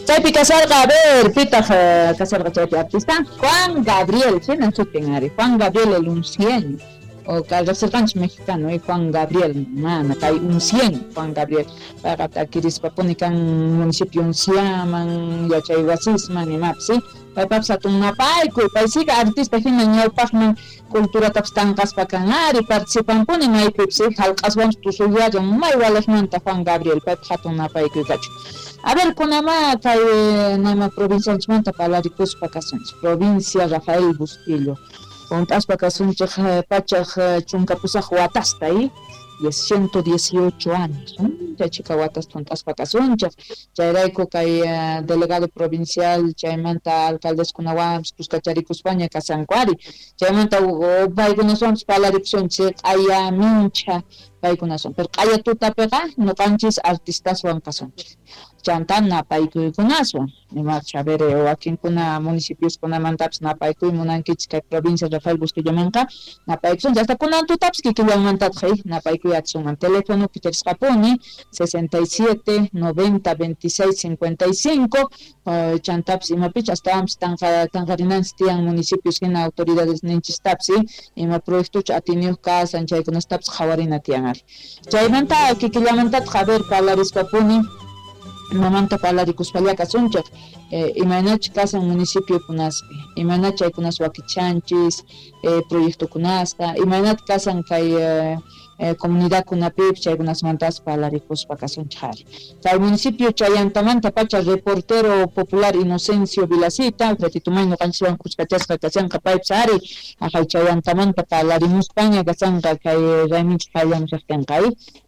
Chaypi kasarqa, a ver, pitaq kasarqa chaypi artista? Juan Gabriel, hina sutin ari, Juan Gabriel el Uncieño. O riqsirqanchik mexicano, Juan Gabriel, mana kay Uncieño, Juan Gabriel. Payqa takirispa-puni kan municipio Unciaman, yachay wasisman, imapis, ¿sí? Paypapis hatun napaykuy, pay siga artista hina ñawpaqman culturatapis tanqaspa kan ari, participanpuni maypipis, ¿sí? Hallq'aswanpis tusuyallan may waliqmanta Juan Gabriel, paypaq hatun napaykuy kachun. A ver, kunamá kay nama provincianchikmanta parlarikuspa kasunchik, provincia Rafael Bustillo. Hunt'aspa kasunchik 118 watasta, ¿eh? 118 años, chay chhika watasta hunt'aspa kasunchik. Chayrayku kay delegado provincial chaymanta alcaldeskunawanpis kuskacharikuspaña kasanku ari. Chaymanta paykunaswanpis parlarikusunchik q'aya minchha paykunaswan. Pero q'aya tutapiqa ñuqanchis artistaswan kasunchik. Chanta napaykuykunaswan. Imapis, a ver, wakinkuna municipioskunamantapis napaykuy munankichik kay provincia Rafael Bustillomanqa napaykusunchik. Hasta kunan tutapis kikillanmantataq napaykuy atisunman. Teléfono kicharisqapuni 67 90 26 55 chantapis imapich astawanpis tanqarinanchis tiyan municipios hina autoridades ninchistapis ima proyectochu atiniyuq kasan chaykunastapis qhawarina tiyan ari. Chaymanta kikillamantataq a ver parlarispapuni imamanta parlarikuspalla kasunchik, imaynachus kasan municipiokunaspi, imaynach chaykunas wakichanchis, proyectokunasta, imaynat kasan kay comunidadkunapipis chaykunasmantas parlarikuspa kasunchik ari. Kay municipio Chayantamanta pacha reportero popular Inocencio Vilacita, ratitumay ñuqanchiswan kuskachasqa kashanqa paypis ari, aqhay Chayantamanta parlarimuspaña kasanqa kay rayminchik qallamushaqtinqa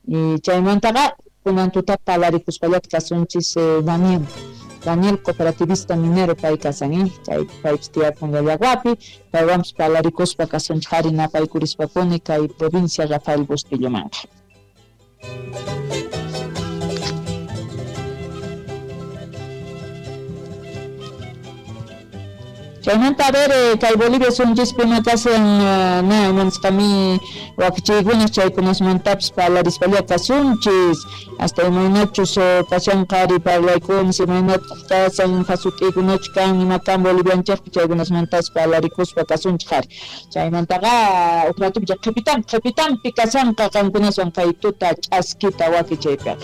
y chaymantaqa kunan tuta parlarikuspallata kasunchis Daniel cooperativista minero pay kasan, chay paypis tiyakun Llallaguapi, paywanpis parlarikuspa kasunchik ari napaykurishpapuni kay provincia Rafael Bustillomanqa. Chaymanta a ver, kay Bolivia sunchispi ima kasan na imanisqami wakichiykunas chaykunasmantapis parlarispalla kasunchis, hasta imaynachus kashanqa ari parlaykunas, imaynataq kasan jasut'ikunachu kan ima kan Bolivianchikpi chaykunasmantapas parlarikuspa kasunchik ari. Chaymantaqa uj ratupi qhipitanpi kasanqa qankunaswan kay tuta ch'askita wakichaypiqa.